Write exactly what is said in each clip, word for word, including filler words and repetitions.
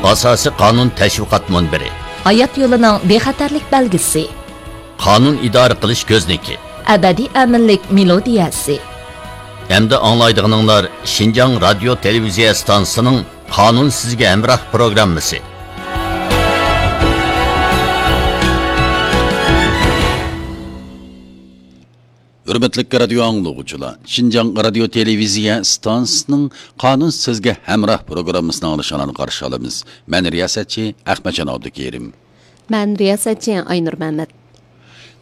ئاساسىي قانۇن تەشۋىقات مۇنبىرى. ھايات يولىنىڭ بىخەتەرلىك بەلگىسى. قانۇن ئىدارە قىلىش كۆزنىكى. ئەبەدىي ئەمىنلىك مېلودىيەسى. ئەمدى ئاڭلايدىغىنىڭلار شىنجاڭ رادىيو تېلېۋىزىيە ئىستانسىسىنىڭ قانۇن سىزگە ھەمراھ پروگراممىسى. ھۆرمەتلىك رادىيو ئاڭلىغۇچىلار، شىنجاڭ رادىيو تېلېۋىزىيە ئىستانسىسىنىڭ قانۇن سىزگە ھەمراھ پروگراممىسىنى ئاڭلىشىڭلارنى قارشى ئالىمىز. مەن رىياسەتچى ئەخمەتجان ئابدۇكېرىم. مەن رىياسەتچى ئاينۇر مەمەت.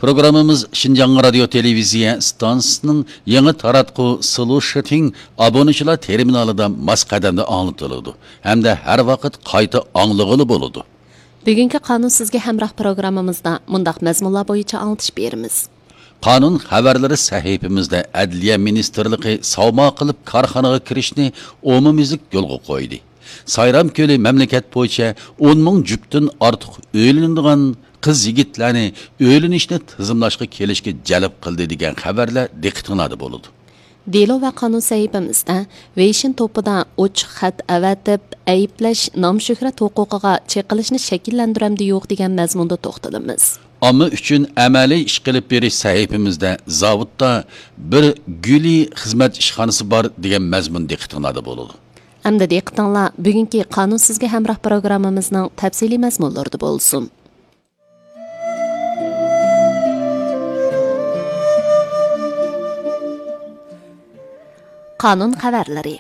پروگراممىمىز شىنجاڭ رادىيو تېلېۋىزىيە ئىستانسىسىنىڭ يېڭى تاراتقۇ سلۇشىتىڭ ئابۇنىچىلار تېرمىنالىدا ماس قەدەمدە ئاڭلىتىلىدۇ ھەمدە ھەر ۋاقىت قايتا ئاڭلىغىلى بولىدۇ. بۈگۈنكى قانۇن سىزگە ھەمراھ پروگراممىمىزدا مۇنداق مەزمۇنلار بويىچە ئاڭلىتىش بېرىمىز. قانۇن خەۋەرلىرى سەھىپىمىزدە ئەدلىيە مىنىستىرلىقى ساۋما قىلىپ كارخانىغا كىرىشنى ئومۇميۈزلۈك يولغا قويدى. سايرام كۆلى مەملىكەت بويىچە ئون مىڭ جۈپتىن ئارتۇق ئۆيلىنىدىغان قىز يىگىتلەرنى ئۆيلىنىشنى تىزىملاشقا كېلىشكە جەلپ قىلدى دېگەن خەۋەرلەر دىققىتىڭلاردا بولىدۇ. دېلو ۋە قانۇن سەھىپىمىزدە ۋېيشىن توپىدا ئوچۇق خەت ئەۋەتىپ، ئەيىبلەش نام-شۆھرەت ھوقۇقىغا چېقىلىشنى شەكىللەندۈرەمدۇ يوق دېگەن مەزمۇندا توختىلىمىز. ئامما ئۈچۈن ئەمەلىي ئىش قىلىپ بېرىش سەھىپىمىزدە زاۋۇتتا بىر گۈلى خىزمەت ئىشخانىسى بار دېگەن مەزمۇن دىققىتىڭلاردا بولىدۇ. ئەمدى دىققىتىڭلار بۈگۈنكى قانۇن سىزگە ھەمراھ پروگراممىمىزنىڭ تەپسىلىي مەزمۇنلىرىدا بولسۇن. قانۇن خەۋەرلىرى.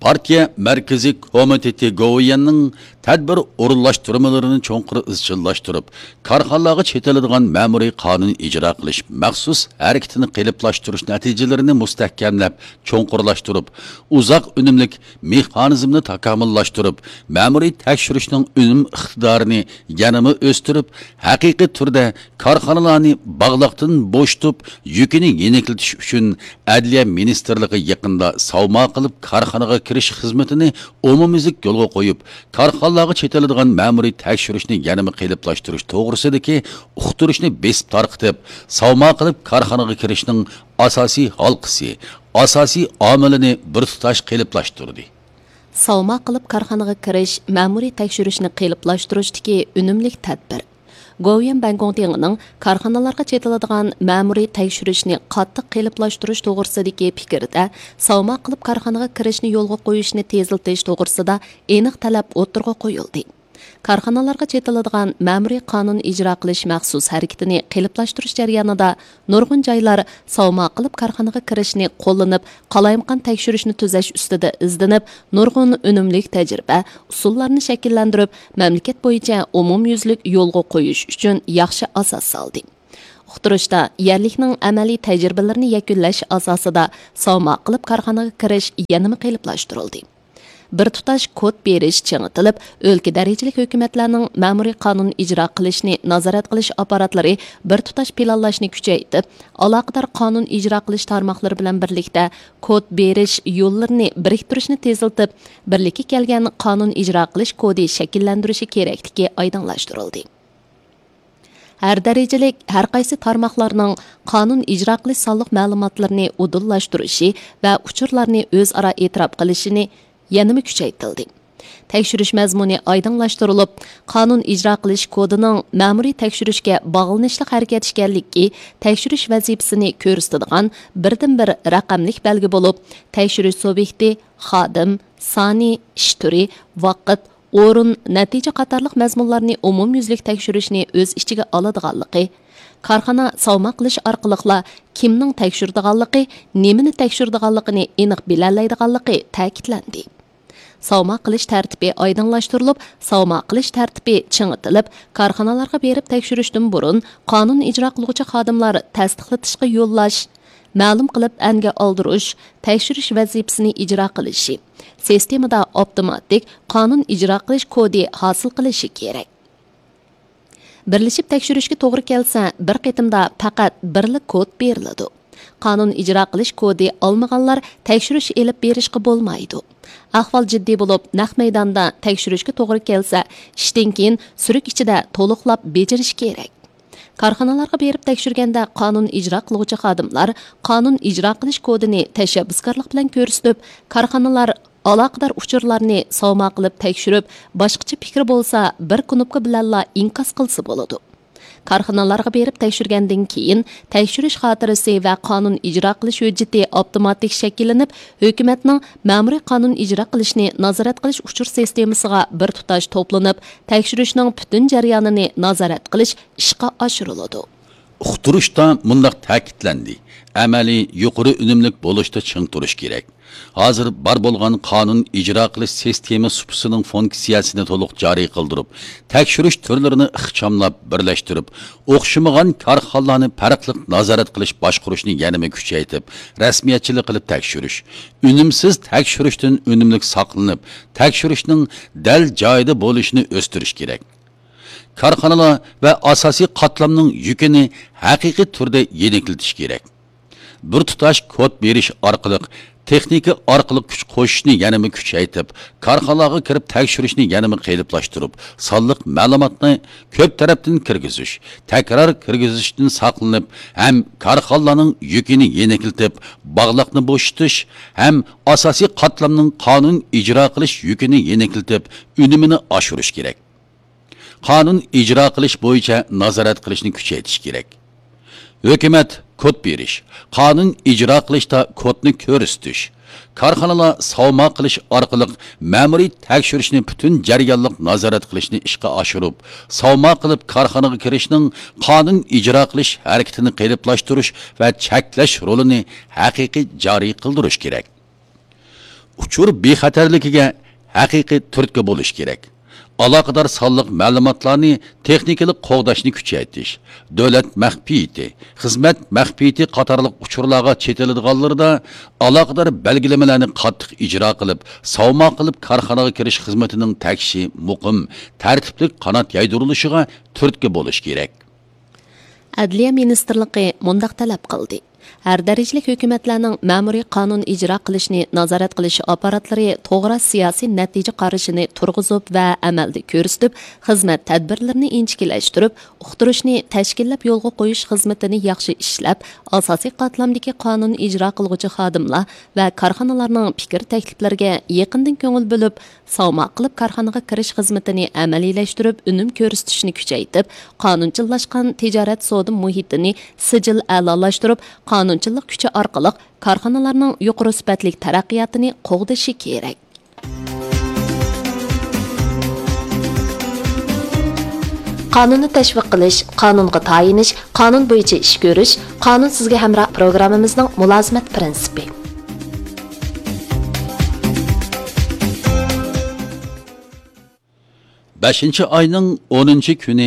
پارتىيە مەركىزىي كومىتېتى گوۋۇيۈەننىڭ تەدبىر ئورۇنلاشتۇرمىلىرىنى چوڭقۇر ئىزچىللاشتۇرۇپ، كارخانىلارغا چېتىلىدىغان مەمۇرىي قانۇن ئىجرا قىلىش مەخسۇس ھەرىكىتىنى قېلىپلاشتۇرۇش نەتىجىلىرىنى مۇستەھكەملەپ، چوڭقۇرلاشتۇرۇپ، ئۇزاق ئۈنۈملۈك مېخانىزمنى تاكامۇللاشتۇرۇپ، مەمۇرىي تەكشۈرۈشنىڭ ئۈنۈم ئىقتىدارىنى يەنىمۇ ئۆستۈرۈپ، ھەقىقىي تۈردە كارخانىلارنى باغلاقتىن بوشىتىپ، يۈكىنى يېنىكلىتىش ئۈچۈن ئەدلىيە مىنىستىرلىقى يېقىندا ساۋما قىلىپ كارخانىغا كىرىش خىزمىتىنى ئومۇميۈزلۈك يولغا قويۇپ، كارخانىلارغا چېتىلىدىغان مەمۇرىي تەكشۈرۈشنى يەنىمۇ قېلىپلاشتۇرۇش توغرىسىدىكى ئۇقتۇرۇشنى بېسىپ تارقىتىپ، ساۋما قىلىپ كارخانىغا كىرىشنىڭ ئاساسىي ھالقىسى، ئاساسىي ئامىلىنى بىر تۇتاش قېلىپلاشتۇردى. ساۋما قىلىپ كارخانىغا كىرىش مەمۇرىي تەكشۈرۈشنى قېلىپلاشتۇرۇشتىكى ئۈنۈملۈك تەدبىر. گوۋۇيۈەن بەنگوڭتىڭىنىڭ كارخانىلارغا چېتىلىدىغان مەمۇرىي تەكشۈرۈشنى قاتتىق قېلىپلاشتۇرۇش توغرىسىدىكى پىكرىدە، ساۋما قىلىپ كارخانىغا كىرىشنى يولغا قويۇشنى تېزلىتىش توغرىسىدا ئېنىق تەلەپ ئوتتۇرىغا قويۇلدى. كارخانىلارغا چېتىلىدىغان مەمۇرىي قانۇن ئىجرا قىلىش مەخسۇس ھەرىكىتىنى قېلىپلاشتۇرۇش جەريانىدا نۇرغۇن جايلار ساۋما قىلىپ كارخانىغا كىرىشنى قوللىنىپ، قالايمىقان تەكشۈرۈشنى تۈزەش ئۈستىدە ئىزدىنىپ، نۇرغۇن ئۈنۈملۈك تەجرىبە، ئۇسۇللارنى شەكىللەندۈرۈپ، مەملىكەت بويىچە ئومۇميۈزلۈك يولغا قويۇش ئۈچۈن ياخشى ئاساس سالدى. ئۇقتۇرۇشتا، يەرلىكنىڭ ئەمەلىي تەجرىبىلىرىنى يەكۈنلەش ئاساسىدا ساۋما قىلىپ كارخانىغا كىرىش يەنىمۇ قېلىپلاشتۇرۇلدى. بىر تۇتاش كود بېرىش چىڭىتىلىپ، ئۆلكە دەرىجىلىك ھۆكۈمەتلەرنىڭ مەمۇرىي قانۇن ئىجرا قىلىشنى نازارەت قىلىش ئاپپاراتلىرى بىر تۇتاش پىلانلاشنى كۈچەيتىپ، ئالاقىدار قانۇن ئىجرا قىلىش تارماقلىرى بىلەن بىرلىكتە كود بېرىش يوللىرىنى بىرىكتۈرۈشنى تېزلىتىپ، بىرلىككە كەلگەن قانۇن ئىجرا قىلىش كودى شەكىللەندۈرۈشى كېرەكلىكى ئايدىڭلاشتۇرۇلدى. ھەر دەرىجىلىك ھەر قايسى تارماقلارنىڭ قانۇن ئىجرا قىلىش سانلىق مەلۇماتلىرىنى ئۇدۇللاشتۇرۇشى ۋە ئۇچۇرلارنى ئۆزئارا ئېتىراپ قىلىشىنى يەنىمۇ كۈچەيتىلدى. تەكشۈرۈش مەزمۇنى ئايدىڭلاشتۇرۇلۇپ، قانۇن ئىجرا قىلىش كودىنىڭ مەمۇرىي تەكشۈرۈشكە باغلىنىشلىق ھەرىكەت ئىكەنلىكى تەكشۈرۈش ۋەزىپىسىنى كۆرسىتىدىغان بىردىنبىر رەقەملىك بەلگە بولۇپ، تەكشۈرۈش سۇبيېكتى، خادىم، سانى، ئىش تۈرى، ۋاقىت، ئورۇن، نەتىجە قاتارلىق مەزمۇنلارنى ئومۇميۈزلۈك تەكشۈرۈشنى ئۆز ئىچىگە ئالىدىغانلىقى، كارخانا ساۋما قىلىش ئارقىلىقلا كىمنىڭ تەكشۈرىدىغانلىقى، نېمىنى تەكشۈرىدىغانلىقىنى ئېنىق بىلەلەيدىغانلىقى تەكىتلەندى. ساۋما قىلىش تەرتىپى ئايدىڭلاشتۇرۇلۇپ، ساۋما قىلىش تەرتىپى چىڭىتىلىپ، كارخانىلارغا بېرىپ تەكشۈرۈشتىن بۇرۇن قانۇن ئىجرا قىلغۇچى خادىملار تەستىقلىتىشقا يوللاش، مەلۇم قىلىپ ئەنگە ئالدۇرۇش، تەكشۈرۈش ۋەزىپىسىنى ئىجرا قىلىشى، سىستېمىدا ئاپتوماتىك قانۇن ئىجرا قىلىش كودى ھاسىل قىلىشى كېرەك. بىرلىشىپ تەكشۈرۈشكە توغرا كەلسە، بىر قېتىمدا پەقەت بىرلا كود بېرىلىدۇ. قانۇن ئىجرا قىلىش كودى ئالمىغانلار تەكشۈرۈش ئېلىپ بېرىشقا بولمايدۇ. ئەھۋال جىددىي بولۇپ، نەق مەيداندا تەكشۈرۈشكە توغرا كەلسە، ئىشتىن كېيىن سۈرۈك ئىچىدە تولۇقلاپ بېجىرىش كېرەك. كارخانىلارغا بېرىپ تەكشۈرگەندە، قانۇن ئىجرا قىلغۇچى خادىملار قانۇن ئىجرا قىلىش كودىنى تەشەببۇسكارلىق بىلەن كۆرسىتىپ، كارخانىلار ئالاقىدار ئۇچۇرلارنى ساۋما قىلىپ تەكشۈرۈپ، باشقىچە پىكرى بولسا، بىر كۇنۇپكا بىلەنلا ئىنكاس قىلسا بولىدۇ. كارخانىلارغا بېرىپ تەكشۈرگەندىن كېيىن، تەكشۈرۈش خاتىرىسى ۋە قانۇن ئىجرا قىلىش ھۆججىتى ئاپتوماتىك شەكىللىنىپ، ھۆكۈمەتنىڭ مەمۇرىي قانۇن ئىجرا قىلىشنى نازارەت قىلىش ئۇچۇر سىستېمىسىغا بىر تۇتاش توپلىنىپ، تەكشۈرۈشنىڭ پۈتۈن جەريانىنى نازارەت قىلىش ئىشقا ئاشۇرۇلىدۇ. ئۇقتۇرۇشتا مۇنداق تەكىتلەندى: ئەمەلىي يۇقىرى ئۈنۈملۈك بولۇشتا چىڭ تۇرۇش كېرەك. ھازىر بار بولغان قانۇن ئىجرا قىلىش سىستېما سۇپىسىنىڭ فۇنكسىيەسىنى تولۇق جارى قىلدۇرۇپ، تەكشۈرۈش تۈرلىرىنى ئىخچاملاپ بىرلەشتۈرۈپ، ئوخشىمىغان كارخانىلارنى پەرقلىق نازارەت قىلىش باشقۇرۇشنى يەنىمۇ كۈچەيتىپ، رەسمىيەتچىلىك قىلىپ تەكشۈرۈش، ئۈنۈمسىز تەكشۈرۈشتىن ئۈنۈملۈك ساقلىنىپ، تەكشۈرۈشنىڭ دەل جايىدا بولۇشىنى ئۆستۈرۈش كېرەك. كارخانىلار ۋە ئاساسىي قاتلامنىڭ يۈكىنى ھەقىقىي تۈردە يېنىكلىتىش كېرەك. بىر تۇتاش كود بېرىش ئارقىلىق، تېخنىكا ئارقىلىق كۈچ قوشۇشنى يەنىمۇ كۈچەيتىپ، كارخانىلارغا كىرىپ تەكشۈرۈشنى يەنىمۇ قېلىپلاشتۇرۇپ، سانلىق مەلۇماتنى كۆپ تەرەپتىن كىرگۈزۈش، تەكرار كىرگۈزۈشتىن ساقلىنىپ، ھەم كارخانىلارنىڭ يۈكىنى يېنىكلىتىپ، باغلاقنى بوشىتىش ھەم ئاساسىي قاتلامنىڭ قانۇن ئىجرا قىلىش يۈكىنى يېنىكلىتىپ، ئۈنۈمىنى ئاشۇرۇش كېرەك. قانۇن ئىجرا قىلىش بويىچە نازارەت قىلىشنى كۈچەيتىش كېرەك. ھۆكۈمەت كود بېرىش، قانۇن ئىجرا قىلىشتا كودنى كۆرسىتىش، كارخانىلار ساۋما قىلىش ئارقىلىق مەمۇرىي تەكشۈرۈشنى پۈتۈن جەريانلىق نازارەت قىلىشنى ئىشقا ئاشۇرۇپ، ساۋما قىلىپ كارخانىغا كىرىشنىڭ قانۇن ئىجرا قىلىش ھەرىكىتىنى قېلىپلاشتۇرۇش ۋە چەكلەش رولىنى ھەقىقىي جارى قىلدۇرۇش كېرەك. ئۇچۇر بىخەتەرلىكىگە ھەقىقىي تۈرتكە بولۇش كېرەك. ئالاقىدار سانلىق مەلۇماتلارنى تېخنىكىلىق قوغداشنى كۈچەيتىش، دۆلەت مەخپىيىتى، خىزمەت مەخپىيىتى قاتارلىق ئۇچۇرلارغا چېتىلىدىغانلىرىدا ئالاقىدار بەلگىلىمىلەرنى قاتتىق ئىجرا قىلىپ، ساۋما قىلىپ كارخانىغا كىرىش خىزمىتىنىڭ تەكشى مۇقىم، تەرتىپلىك قانات يايدۇرۇلۇشىغا تۈرتكە بولۇش كېرەك. ئەدلىيە مىنىستىرلىقى مۇنداق تەلەپ قىلدى: ھەر دەرىجىلىك ھۆكۈمەتلەرنىڭ مەمۇرىي قانۇن ئىجرا قىلىشنى نازارەت قىلىش ئاپپاراتلىرى توغرا سىياسىي نەتىجە قارىشىنى تۇرغۇزۇپ ۋە ئەمەلدە كۆرسىتىپ، خىزمەت تەدبىرلىرىنى ئىنچىكىلەشتۈرۈپ، ئۇقتۇرۇشنى تەشكىللەپ يولغا قويۇش خىزمىتىنى ياخشى ئىشلەپ، ئاساسىي قاتلامدىكى قانۇن ئىجرا قىلغۇچى خادىملار ۋە كارخانىلارنىڭ پىكىر تەكلىپلىرىگە يېقىندىن كۆڭۈل بۆلۈپ، ساۋما قىلىپ كارخانىغا كىرىش خىزمىتىنى ئەمەلىيلەشتۈرۈپ، ئۈنۈم كۆرسىتىشنى كۈچەيتىپ، قانۇنچىللاشقان تىجارەت سودا مۇھىتىنى سىجىل ئەلالاشتۇرۇپ، قانۇنچىللىق كۈچى ئارقىلىق كارخانىلارنىڭ يۇقىرى سۈپەتلىك تەرەققىياتىنى قوغدىشى كېرەك. قانۇننى تەشۋىق قىلىش، قانۇنغا تايىنىش، قانۇن بويىچە ئىش كۆرۈش، قانۇن سىزگە ھەمراھ پروگراممىمىزنىڭ مۇلازىمەت پىرىنسىپى. بەشىنچى ئاينىڭ ئونىنچى كۈنى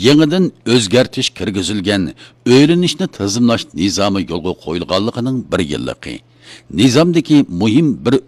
يېڭىدىن ئۆزگەرتىش كىرگۈزۈلگەن ئۆيلىنىشنى تىزىملاش نىزامى يولغا قويۇلغانلىقىنىڭ بىر يىللىقى. نىزامدىكى مۇھىم بىر